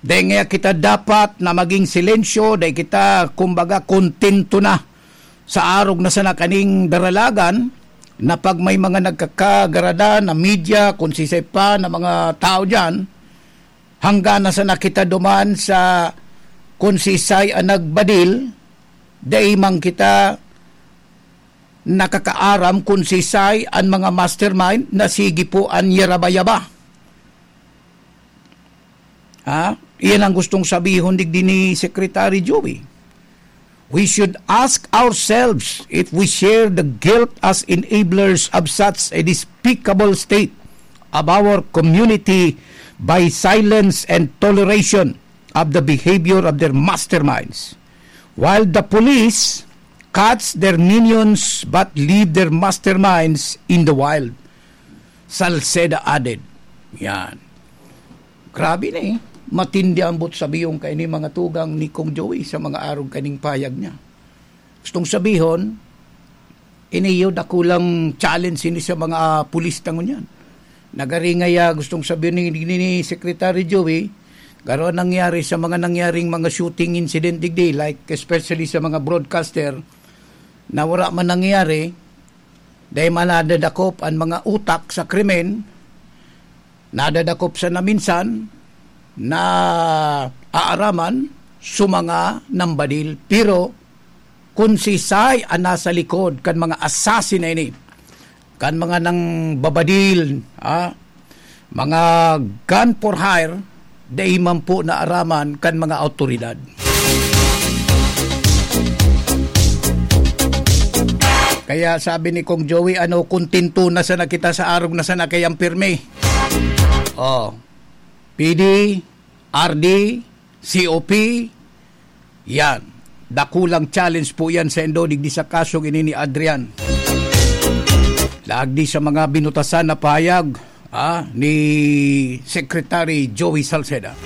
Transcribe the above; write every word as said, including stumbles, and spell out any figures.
Dai ngaya kita dapat na maging silensyo, dai kita, kumbaga, kontento na sa arog na sana kaning daralagan, na pag may mga nagkakagarada na media, kung sisay pa na mga tao diyan, hangga na sana kita duman sa kung sisay an nagbadil, dai man kita nakakaaram kung sisay an mga mastermind na sige po an yaraba-yaba. Ha? Iyan ang gustong sabihon digdi ni Secretary Joey. We should ask ourselves if we share the guilt as enablers of such a despicable state of our community by silence and toleration of the behavior of their masterminds, while the police catch their minions but leave their masterminds in the wild. Salceda added. Yan. Grabe na eh. Matindi ang buot sabihon kaini, mga tugang, ni Kong Joey sa mga arog kaning payag niya. Gustong sabihon, ini iyo dakulang challenge ini sa mga pulis ta ngunyan. Nagari ngaya, gustong sabihon ni, ni, ni Secretary Joey, garo nangyari sa mga nangyaring mga shooting incident digdi, like especially sa mga broadcaster, na wala man nangyari, dahil man nadadakop an mga utak sa krimen, nadadakop sana minsan, na aaraman sa mga nambadil. Pero kung sisay an nasa likod kan mga assassin na ini, kan mga nangbabadil, ah, mga gun for hire, dai man po naaraman kan mga awtoridad. Kaya sabi ni Kong Joey, ano, kontento na sana kita sa arog na sana kayang pirmi. Oh, P D, R D, C O P, yan. Dakulang challenge po yan sa indo, digdi sa kasong ini ni Adrian. Lagdi sa mga binutasan na pahayag, ah, ni Secretary Joey Salceda.